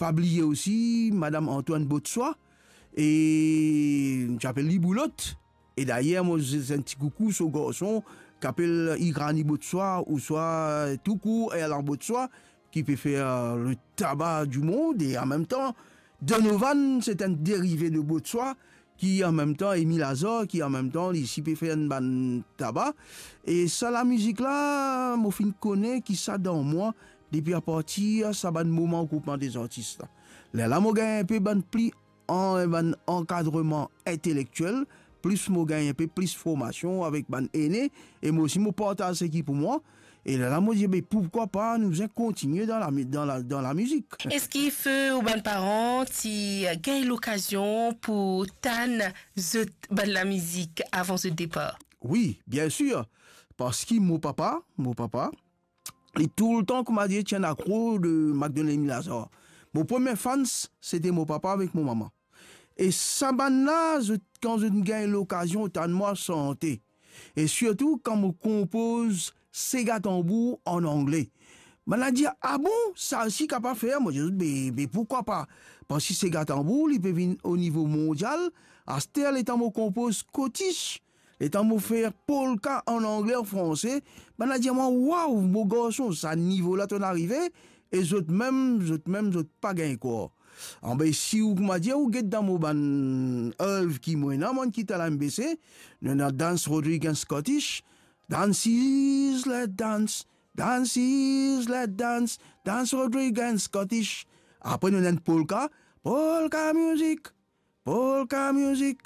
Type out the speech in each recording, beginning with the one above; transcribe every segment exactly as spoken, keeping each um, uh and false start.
pa bliye osi Madam Antoine Botswa, e nou ti apel li Boulot. E dayer, mo zis enn ti koukou so garson, ki apel Igrani Botswa, ouswa toukour Erlan Botswa, ki pe fer le taba dimond, e an mem tan, Donovan, se enn derive de Botswa, ki an mem tan, Emile Azor, ki an mem tan, li osi pe fer enn bann taba. E sa lamizik la, mo finn kone ki sa dan mwa, depi apartir sa bann moman group dezartis la. Lerla mo gagn enpe bann pli an, bann ankadreman intelektiel, plis mo gagn enpe plis formasion avek bann ene, e mo osi mo partaz seki pou mwa, e lerla mo dir, be, poukwa pa nou bizin kontigne dan la, dan la, dan lamizik. Eski fer ou bann paran ti gagn lokazion pou tann zot bann lamizik avan zot depar? Wi, bien sir, parski mo papa, mo papa, li toultan, kouma dir, ti enn akro de Macdonald Emile Azor. Mo premie fans, sete mo papa avek mo mama. E sa bann la, zot, kan zot gagn lokazion tann mwa sante, e sirtou kan mo konpoz sega tanbour an angle, bann la dir, "Ah bon, sa osi kapav fer?" Mo dir zot, "Be, be, poukwa pa?" Parski sega tanbour, li pe vinn o nivo mondial. Aster, letan mo konpoz Scottish, letan mo fer polka an angle, an franse, bann la dir mwa, "Waw, mo garson, sa nivo la to'nn arive," e zot mem, zot mem, zot pa gagn krwar. Anbe, si ou, kouma dir, ou get dan mo bann erv ki mo ena, mwa ki ti al MBC, nou ena Dance Rodrigues Scottish, Dances, let dance, dances, let dance, Dance Rodrigues Scottish. Apre nou ena enn polka, polka music, polka music.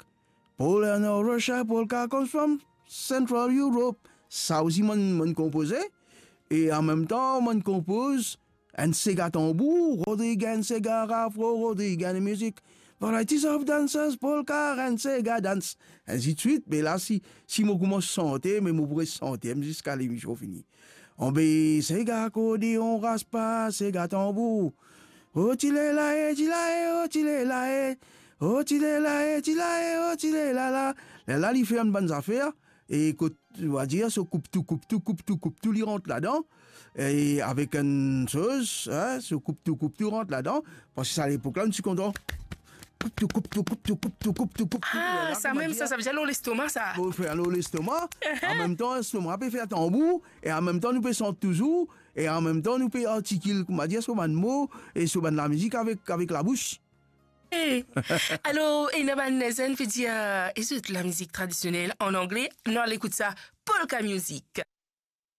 Pol-, no, Russia polka comes from Central Europe. Sa osi mo'nn, mo'nn konpoze. E an mem tan, mo'nn konpoz enn sega tanbour, Rodrigues sega, afro Rodrigues music, varieties of dances, polka and sega dance, ainsi de suite. Me la, si, si mo koumans sante, me mo pou res sante ziska lemision fini. Anbe, sega akordeon, raspa, sega tanbour. O ti le la e, ti la e, o ti le la e. O ti le la e, ti la e, o ti le la la. Lerla li fer enn bann zafer, e kot, on va dir, so koup tou, koup tou, koup tou, koup tou, li rant ladan. E avek enn soz, hein, so koup tou, koup tou rant ladan. Parski sa lepok la, nou ti kontan koup tou, koup tou, koup tou, koup tou, koup tou, koup tou. Ah, lerla, sa kouma mem, dir, sa, sa ve dir lor lestoma, sa. Pou fer lor lestoma. An mem tan, lestoma pe fer tanbour, e an mem tan, nou pe sant touzour, e an mem tan, nou pe artikil, kouma dir, so bann mo, e so bann lamizik avek, avek labous. Eh. Alor, ena bann zenn pe dir, eh, e zot lamizik tradisionel an angle, nou al ekout sa, polka music.